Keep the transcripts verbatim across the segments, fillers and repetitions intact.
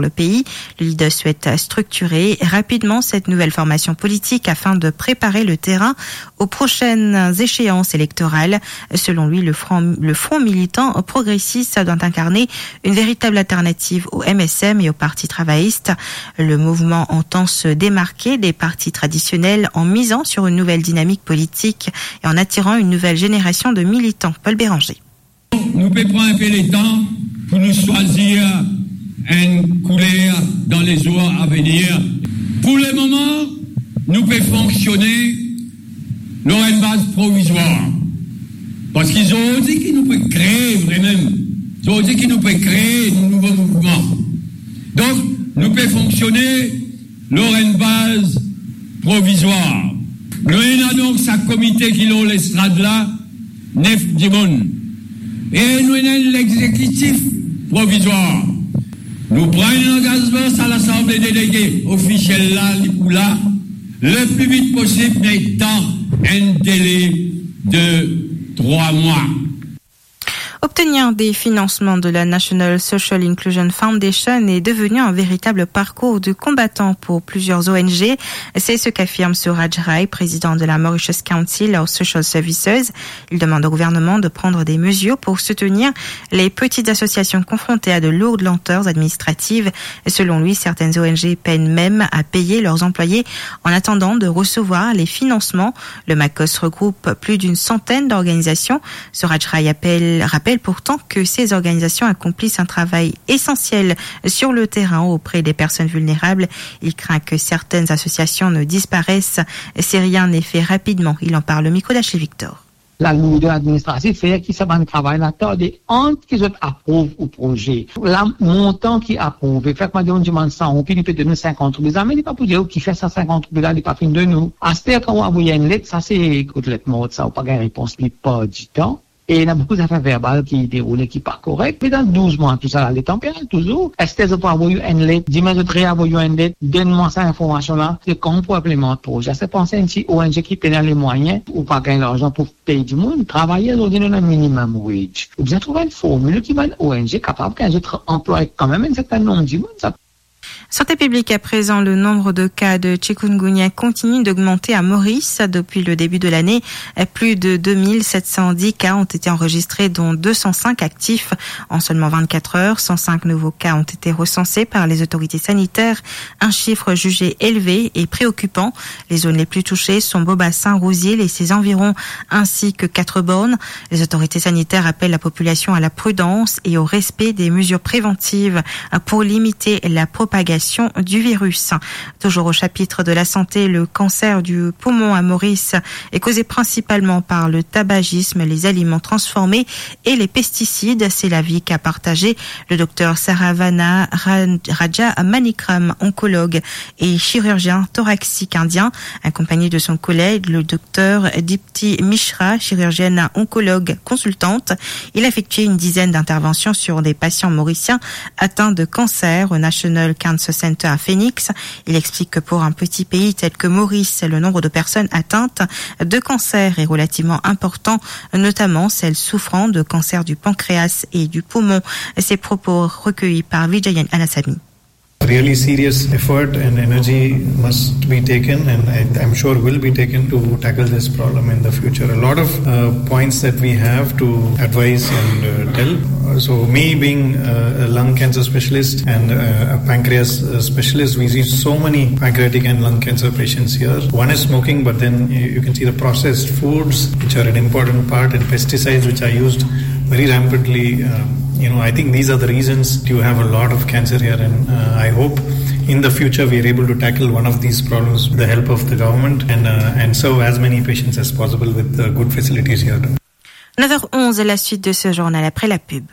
le pays. Le leader souhaite structurer rapidement cette nouvelle formation politique afin de préparer le terrain aux prochaines échéances électorales. Selon lui, le front, le front militant progressiste doit incarner une véritable alternative au M S M et au Parti travailliste. Le mouvement entend se démarquer des partis traditionnels en misant sur une nouvelle dynamique politique et en attirant une nouvelle génération de militants. Paul Béranger. Nou pe pran inpe letan pou nou swazir enn kouler dan lezour avenir. Pou lemoman, nou pe fonksione lor enn baz provizwar. Parski zordi ki nou pe kree vremem, zordi ki nou pe kree nou nouvo mouvman. Donk, nou pe fonksione lor enn baz provizwar. Nou ena donk sa komite ki lor lestrad la, nef dimoun. E nou ena enn lexekitif provizwar. Nou pran enn langazman, sa Lasanble Delege ofisiel la, li pou la, le pli vit posib, me dan enn dele de trwa mwa. Obtenir des financements de la National Social Inclusion Foundation est devenu un véritable parcours du combattant pour plusieurs O N G. C'est ce qu'affirme Suraj Rai, président de la Mauritius Council of Social Services. Il demande au gouvernement de prendre des mesures pour soutenir les petites associations confrontées à de lourdes lenteurs administratives. Selon lui, certaines O N G peinent même à payer leurs employés en attendant de recevoir les financements. Le MACOS regroupe plus d'une centaine d'organisations. Suraj Rai appelle, rappelle pourtant que ces organisations accomplissent un travail essentiel sur le terrain auprès des personnes vulnérables. Il craint que certaines associations ne disparaissent si rien n'est fait rapidement. Il en parle au micro d'Achille Victor. Lalourder administratif fer ki sa bann travay la tarde ant ki zot aprouv ou proze. La montan ki aprouve, fer ki mo dir enn dimoun san roupi, li pe donn ou sinkant roupi, zame li pa pou dir ou kifer sa sinkant roupi la, li pa finn donn ou. Aster kan ou avoy enn let, sa se kot let mort sa, ou pa gagn repons plipar ditan. E ena boukou zafer verbal ki deroule ki pa korek. Pandan douz mwa, tou sa la, letan pe al touzour. Aster zot pou avoy ou enn let, demin zot reavoy ou enn let, donn mwa sa informasion la, se kan pou inplimant proze. Se panse enn ti O N G ki pena lemwayin, ou pa gagn larzan pou pey dimoun, travayer zordi nou ena minimum wage. Ou bizin trouv enn formil ki bann O N G kapav gagn zot anplwaye kanmem enn sertin nonb dimoun, sa. Santé publique à présent, le nombre de cas de chikungunya continue d'augmenter à Maurice. Depuis le début de l'année, plus de deux mille sept cent dix cas ont été enregistrés, dont deux cent cinq actifs. En seulement vingt-quatre heures, cent cinq nouveaux cas ont été recensés par les autorités sanitaires, un chiffre jugé élevé et préoccupant. Les zones les plus touchées sont Beaubassin, Rouzil et ses environs, ainsi que Quatre-Bornes. Les autorités sanitaires appellent la population à la prudence et au respect des mesures préventives pour limiter la propagation du virus. Toujours au chapitre de la santé, le cancer du poumon à Maurice est causé principalement par le tabagisme, les aliments transformés et les pesticides. C'est l'avis qu'a partagé le docteur Saravana Ra-, Raja Manikram, oncologue et chirurgien thoracique indien, accompagné de son collègue, le docteur Dipti Mishra, chirurgienne oncologue consultante. Il a effectué une dizaine d'interventions sur des patients mauriciens atteints de cancer au National Cancer Center à Phoenix. Il explique que pour un petit pays tel que Maurice, le nombre de personnes atteintes de cancer est relativement important, notamment celles souffrant de cancer du pancréas et du poumon. Ces propos recueillis par Vijayan Anasami. Really serious effort and energy must be taken, and I, I'm sure will be taken, to tackle this problem in the future. A lot of uh, points that we have to advise and uh, tell. So me being uh, a lung cancer specialist and uh, a pancreas uh, specialist, we see so many pancreatic and lung cancer patients here. One is smoking, but then you, you can see the processed foods, which are an important part, and pesticides, which are used very rampantly. Um, you know, I think these are the reasons you have a lot of cancer here, and uh, I hope in the future we are able to tackle one of these problems with the help of the government and, uh, and serve as many patients as possible with uh, good facilities here. Neuf heures onze, la suite de ce journal après la pub.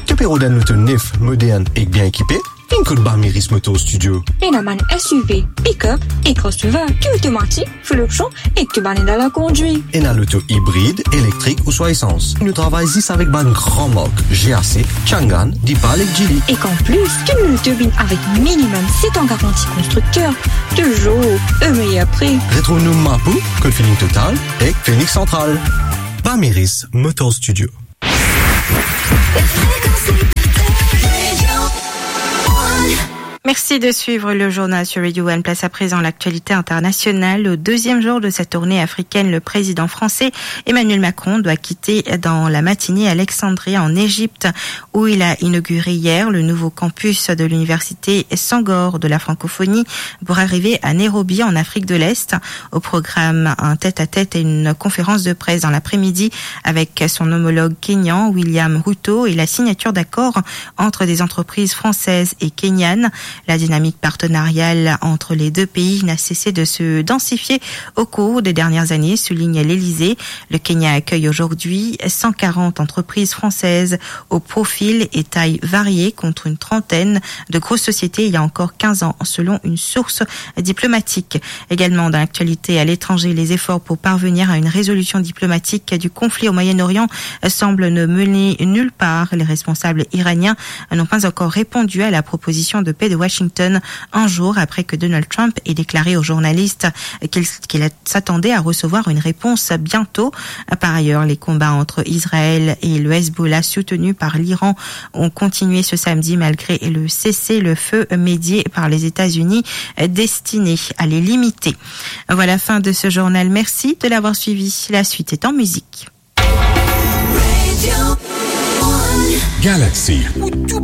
To pe rod enn loto nef, modern ek bien ekipe? Vinn kot Bamiris Motor Studio. Ena bann S U V, pick-up e crossover ki otomatik, fou loksion ek to bann ena la kondwi. Ena loto ibrid, elektrik ouswa esans. Nou travay zis avek bann gran mark, G A C, Changan, Deepal ek Geely. Ek an plis, tou nou loto vinn avek minimum set an garanti konstrikter, touzour o meyer pri. Retrouv nou Mapou, kot Feeling Total ek Phoenix Central. Bamiris Motor Studio. Merci de suivre le journal sur Radio One. Place à présent à l'actualité internationale. Au deuxième jour de sa tournée africaine, le président français Emmanuel Macron doit quitter dans la matinée Alexandrie en Égypte, où il a inauguré hier le nouveau campus de l'université Senghor de la francophonie, pour arriver à Nairobi en Afrique de l'Est. Au programme, un tête-à-tête et une conférence de presse dans l'après-midi avec son homologue kényan, William Ruto, et la signature d'accords entre des entreprises françaises et kenyanes. La dynamique partenariale entre les deux pays n'a cessé de se densifier au cours des dernières années, souligne l'Élysée. Le Kenya accueille aujourd'hui cent quarante entreprises françaises au profil et taille variée, contre une trentaine de grosses sociétés il y a encore quinze ans, selon une source diplomatique. Également dans l'actualité à l'étranger, les efforts pour parvenir à une résolution diplomatique du conflit au Moyen-Orient semblent ne mener nulle part. Les responsables iraniens n'ont pas encore répondu à la proposition de paix de Washington, un jour après que Donald Trump ait déclaré aux journalistes qu'il, qu'il s'attendait à recevoir une réponse bientôt. Par ailleurs, les combats entre Israël et le Hezbollah, soutenu par l'Iran, ont continué ce samedi malgré le cessez-le-feu médié par les États-Unis, destiné à les limiter. Voilà, fin de ce journal. Merci de l'avoir suivi. La suite est en musique. Galaxy.